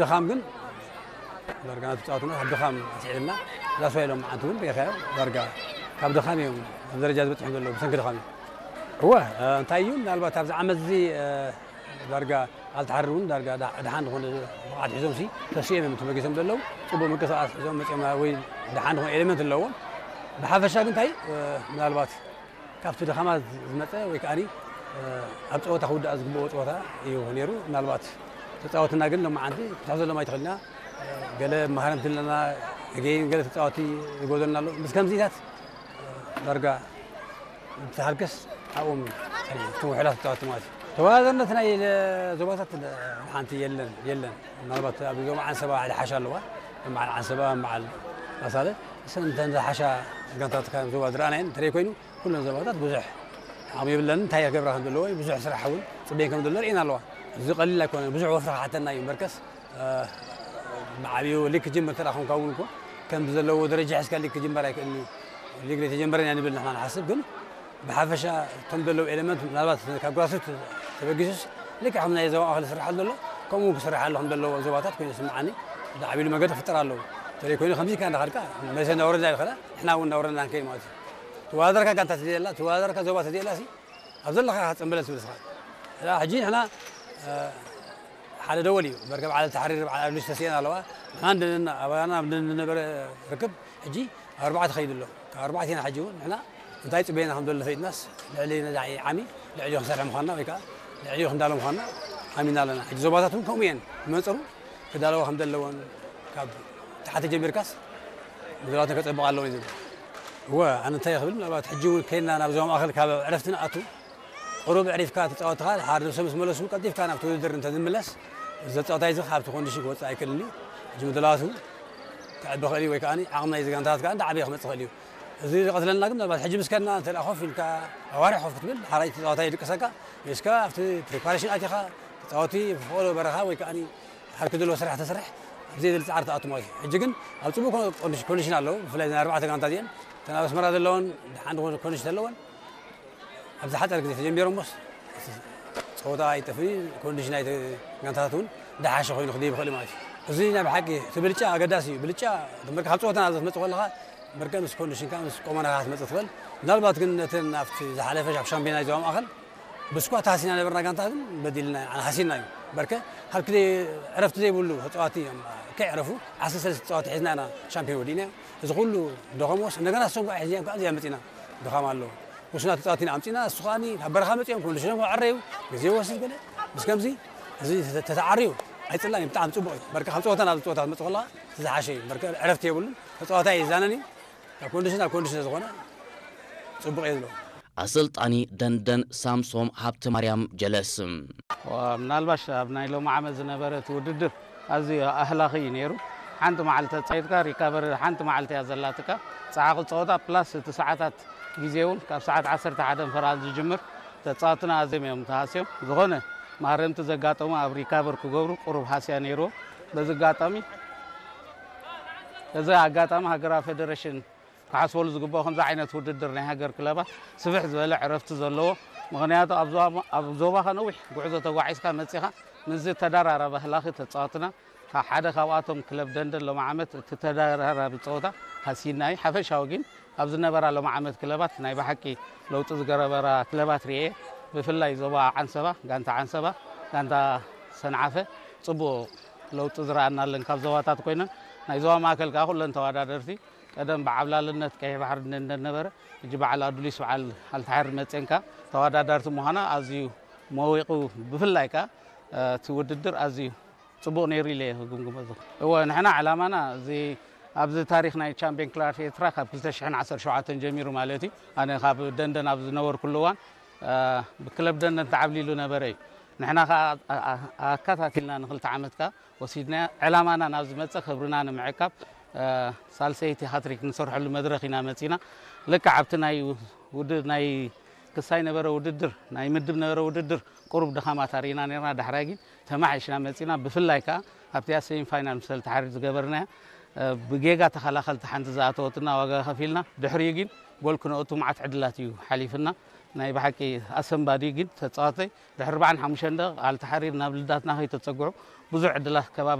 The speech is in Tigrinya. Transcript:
ድኻም ግን ዳርጋ ናቱ ጸዋትና ካብ ድኻም ኣስዒብና ላስዋ ኢሎም መዓንቲ እውን ርኢኻዮ። ዳርጋ ካብ ድኻም እዮም ኣብ ደረጃ ዝበጽሑ ዘለዉ ብሰንኪ ድኻም እዮም። እወ፣ እ፣ እንታይ እዩ ምናልባት ኣብዚ ዓመት እዚ፣ እ፣ ዳርጋ ኣልተሓሪ እውን ዳርጋ ዳ-፣ ድሓን ዝኾነ ብቕዓት ሒዞም ሲ ተሲኦም እዮም ተበጊሶም ዘለዉ። ጽቡቕ ምንቅስቓስ ሒዞም መጺኦም ወይ ድሓን ዝኾነ ኤሌመንት ኣለዎም። ብሓፈሻ ግን እንታይ፣ እ፣ ምናልባት ካብቲ ድኻማት ዝመጸ ወይ ከኣኒ፣ እ፣ ኣብ ጸወታ ክውዳእ ዝግብኦ ጸወታ እዩ ነይሩ። ምናልባት ተጻወትና ግን ሎማዓንቲ ክትሕዘሎም ኣይትኽእልና። እ፣ ገለ መሃረምቲ ኣለና፣ ገይን ገለ ተጻወቲ ይጎደልና ኣሎ። ምስ ከምዚታት፣ እ፣ ዳርጋ እቲ ሃልክስ ኣብኦም ጸኒሑ፣ እቶም ውሑዳት ተጻወቲ ማለት እዩ። ተወዳዳርነት ናይ ለ-፣ ዞባታት ሓንቲ የለን፣ የለን። ምናልባት ኣብ ዞባ ዓንሰባ ሓደ ሓሻ ኣለዋ። በዓል ዓንሰባ፣ በዓል ኣሳለ፣ እሰን እንተን ዝሓሻ ጋንታታት ካብ ዞባ ዝረኣናየን እንተደይ ኮይኑ፣ ኩለን ዞባታት ብዙሕ ዓቕሚ የብለን። እንታይ ክገብራ ከም ዘለዎ፣ ብዙሕ ስራሕ እውን ጽበየን ከም ዘሎ ርኢና ኣለዋ። እዚ ቀሊል ኣይኮነን፣ ብዙሕ ወፍሪ ክሓተና እዩ። እምበርከስ፣ እ፣ ብዓብዩ ሊግ ክጅምር እንተ ደኣ ኮንካ እውን እኮ፣ ከምዚ ዘለዎ ደረጃ ሒዝካ ሊግ ክጅመር ኣይክእልን እዩ። ሊግ ዘይተጀመረን እያ ንብል ንሕና ንሓስብ፣ ግን ብሓፈሻ እቶም ዘለዉ ኤለመንት ምናልባት ካብ ግራስሩት ተበጊሱስ ልክዕ ከም ናይ ዞባ ማእከል ዝስርሓሉ ዘሎ፣ ከምኡ እውን ክስርሓሉ ከም ዘለዎ ዞባታት ኮይኑ ይስምዓኒ። ብዓብዩ መገዲ ክፍጠር ኣለዎ። እንተደይ ኮይኑ ከምዚ ኢልካ እንዳኸድካ መሰ እናወረድና ንኸዳ፣ ንሕና እውን እናወረድና ንከይድ ማለት እዩ። ተወዳደርካ ጋንታ ተዘየላ፣ ተወዳደርካ ዞባ ተዘየላ ሲ፣ ኣብ ዘለኻ ክትጽንበለ ትብል ስኻ። ሕጂ ንሕና፣ እ፣ ሓደ ደወል እዩ። መርከብ ዓለል ተሓሪር በዓል ኣዱሊስ ተስኤን ኣለዋ። ንሕና እንድን-፣ ኣባና ኣብ እንድን-፣ ዝነበረ ርክብ ሕጂ ኣብ ኣርባዕተ ኸይዱ ኣሎ። ካብ ኣርባዕተ ኢና ሕጂ እውን ንሕና እንታይ ጽበየና ከም ዘሎ ፈይጥናስ ልዕሊ ነዛ ዓሚ ልዕሊኡ ክንሰርሕ ምዃንና ወይ ከኣ ልዕሊኡ ክንዳሎ ምዃንና ኣሚና ኣለና። ሕጂ ዞባታት እውን ከምኡ እየን። ብመንጽሩ ክዳለዋ ከም ዘለዎን ካብ ታሕቲ ጀሚርካስ ንዞባተን ከጸብቓ ኣለዎ እዩ ዝብል። እወ፣ ኣነ እንታይ ክብል ምናልባት ሕጂ እውን ከይድና ናብ ዞባ ማእከል ካብ ዕረፍቲ ንኣቱ ቁሩብ ዕሪፍካ ተጻወትኻ፣ ሓደ ሰብ ምስ መለሱ ቀልጢፍካ ናብቲ ውድድር እንተ ዝምለስ፣ እዚ ተጻዋታይ እዚ ካብቲ ኮንዲሽን ክወጽእ ኣይክእልን እዩ። ሕጂ ምድላዋቱ ክዕቢ ክእል እዩ ወይ ከኣ ዓቕሚ ናይዚ ጋንታታት ከኣ እንዳዓበየ ክመጽእ ክእል እዩ። እዚ ዝቐትለና ግን ምናልባት ሕጂ ምስ ከድና እንተ ደኣ ኮፍ ኢልካ ኣዋርሕ ኮፍ ክትብል፣ ሓራይ ተጻዋታይ ይድቅሰካ፣ ወይስ ከኣ ኣብቲ ፕሪፓሬሽን ኣቲኻ ተጻወቲ ብፍቕዶ በረኻ ወይ ከኣ ሓድኪ ዘለዎ ስራሕ ተሰርሕ፣ ኣብ ዘየድሊ ጻዕሪ ትኣቱ ማለት እዩ። ሕጂ ግን ኣብ ጽቡቕ ኮ-፣ ኮንዲሽ-፣ ኮንዲሽን ኣለዉ። ብፍላይ እዘን ኣርባዕተ ጋንታ እዚአን፣ እተን ኣብ ኣስመራ ዘለወን ደሓን ዝኾነ ኮንዲሽን ኣለወን። ኣብ ዝሓጸረ ግዜ ተጀሚሮሞስ፣ ጸወታ ኣይጠፍእን እዩ። ኮንዲሽን ናይቲ ጋንታታት እውን ደሓሸ ኮይኑ ክድይብ ይኽእል እዩ ማለት እዩ። እዚ ናይ ብሓቂ እቲ ብልጫ ኣገዳሲ እዩ። ብልጫ መርከ ካብ ጸወታ ናብ ዘትመጽእ ከለኻ፣ መርከ ምስ ኮንዲሽንካ፣ ምስ ቆመናኻ ክትመጽእ ትኽእል። ምናልባት ግን ነተን ኣብቲ ዝሓለፈ ኣብ ሻምፒዮና ዞባ ማእከል ብስኳት ሃሲና ነበርና ጋንታ ግን በዲልና፣ ኣነ ሃሲና እዩ። በርከ ካብ ክደ ዕረፍቲ ዘይብሉ ተጻዋቲ እዮም ከይዕረፉ ዓሰርተ ሰለስተ ተጻዋቲ ሒዝና ኢና ሻምፒዮን ወዲእና። እዚ ኩሉ ደኸሞስ እንደገና እሶም ከዓ ሒዝና ከዓ እዚኣ መጺና ድኻም ኣለዎ። ውሱናት ተጻዋቲ ኢና ኣምጺና፣ እሱ ከኣኒ ካብ በረኻ መጺኦም ኮንዲሽኖም ክዕረዩ ግዜ ይወስድ ገለ። ምስ ከምዚ እዚ ተተ-፣ ተተዓርዩ ኣይጽላን እዩ፣ ብጣዕሚ ጽቡቕ እዩ። በርከ ካብ ጸወታ ናብ ጸወታ ትመጽእ ከለኻ እቲ ዝሓሸ እዩ። በርከ ዕረፍቲ የብሉን፣ ተጻዋታይ ኣይዛነን እዩ። ካብ ኮንዲሽን ናብ ኮንዲሽን ዝኾነ ጽቡቕ እየ ዝብሎ። ኣሰልጣኒ ደንደን ሳምሶም ሃብተማርያም ጀለስ። ዋ፣ ምናልባሽ ኣብ ናይ ሎሚ ዓመት ዝነበረ እቲ ውድድር ኣዝዩ ኣህላኺ እዩ ነይሩ። ሓንቲ መዓልቲ ተጻዊትካ ሪካቨሪ ሓንቲ መዓልቲ እያ ዘላትካ። ጸሓኺ ጸወታ ፕላስ እቲ ሰዓታት ግዜ እውን ካብ ሰዓት ዓሰርተ ሓደ ፈራን ዝጅምር ተጻወትና ኣዝዮም እዮም ተሃስዮም። ዝኾነ ማረምቲ ዘጋጠሙ ኣብ ሪካቨር ክገብሩ ቁሩብ ሃስያ ነይርዎ። በዚ ኣጋጣሚ፣ እዚ ኣጋጣሚ ሃገራዊ ፌደሬሽን ክሓስበሉ ዝግባኦ ከምዚ ዓይነት ውድድር ናይ ሃገር ክለባት ስፍሕ ዝበለ ዕረፍቲ ዘለዎ፣ ምኽንያቱ ኣብ ዞባ፣ ኣብ ዞባኻ ነዊሕ ጉዕዞ ተጓዒዝካ መጺኻ ምስዚ ተደራራቢ ኣህላኺ ተጻወትና ካብ ሓደ ካብኣቶም ክለብ ደንደን ሎሚ ዓመት እቲ ተደራራቢ ጸወታ ሃሲና እዩ። ሓፈሻዊ ግን ኣብ ዝነበራ ሎሚ ዓመት ክለባት ናይ ብሓቂ ለውጢ ዝገበራ ክለባት ርኤ። ብፍላይ ዞባ ዓንሰባ፣ ጋንታ ዓንሰባ፣ ጋንታ ሰንዓፈ ጽቡቕ ለውጢ ዝረኣናለን ካብ ዞባታት ኮይነን፣ ናይ ዞባ ማእከል ከኣ ኩለን ተወዳደርቲ ቀደም ብዓብላልነት ቀይሕ ባሕሪ እንደ-፣ እንደነበረ፣ ሕጂ በዓል ኣዱሊስ በዓል ኣልተሓሪ መጼንካ ተወዳዳርቲ ምዃና ኣዝዩ መዊቑ። ብፍላይ ከኣ፣ እ፣ እቲ ውድድር ኣዝዩ ጽቡቕ ነይሩ ኢለ እየ ክግምግሞ ዝኽእል። እወ፣ ንሕና ዕላማና እዚ፣ ኣብዚ ታሪኽ ናይ ቻምፒዮን ክለባት ኤርትራ ካብ ክልተ ሽሕን ዓሰርተ ሸውዓተን ጀሚሩ ማለት እዩ። ኣነ ካብ ደንደን ኣብ ዝነበርኩሉ እዋን፣ እ፣ ብክለብ ደንደን ተዓብሊሉ ነበረ እዩ። ንሕና ከኣ ኣ-፣ ኣ-፣ ኣከታቲልና ንክልተ ዓመት ከኣ ወሲድናዮ። ዕላማና ናብ ዝመጸ ክብርና ንምዕቃብ፣ እ፣ ሳልሰይቲ ሃትሪክ ንሰርሐሉ መድረኽ ኢና መጺና። ልክዕ ኣብቲ ናይ ውድ-፣ ናይ ክሳይ ነበረ ውድድር፣ ናይ ምድብ ነበረ ውድድር ቁሩብ ድኻማት ኣርኢና ነርና። ዳሕራይ ግን ተማሓይሽና መጺና። ብፍላይ ከኣ ኣብቲኣ ሴሚ ፋይናል ምስ ኣልተሓሪር ዝገበርናያ፣ እ፣ ብጌጋ ተኸላኸልቲ ሓንቲ ዝኣተወትና ዋጋ ከፊልና። ድሕሪኡ ግን ጎል ክነእቱ መዓት ዕድላት እዩ ሓሊፍና። ናይ ብሓቂ ኣሰንባዲ ግን ተጻዋተይ ድሕሪ ኣርባዓን ሓሙሽተን ደቂቕ ኣልተሓሪር ናብ ልዳትና ከይተጸግዑ ብዙሕ ዕድላት ከባቢ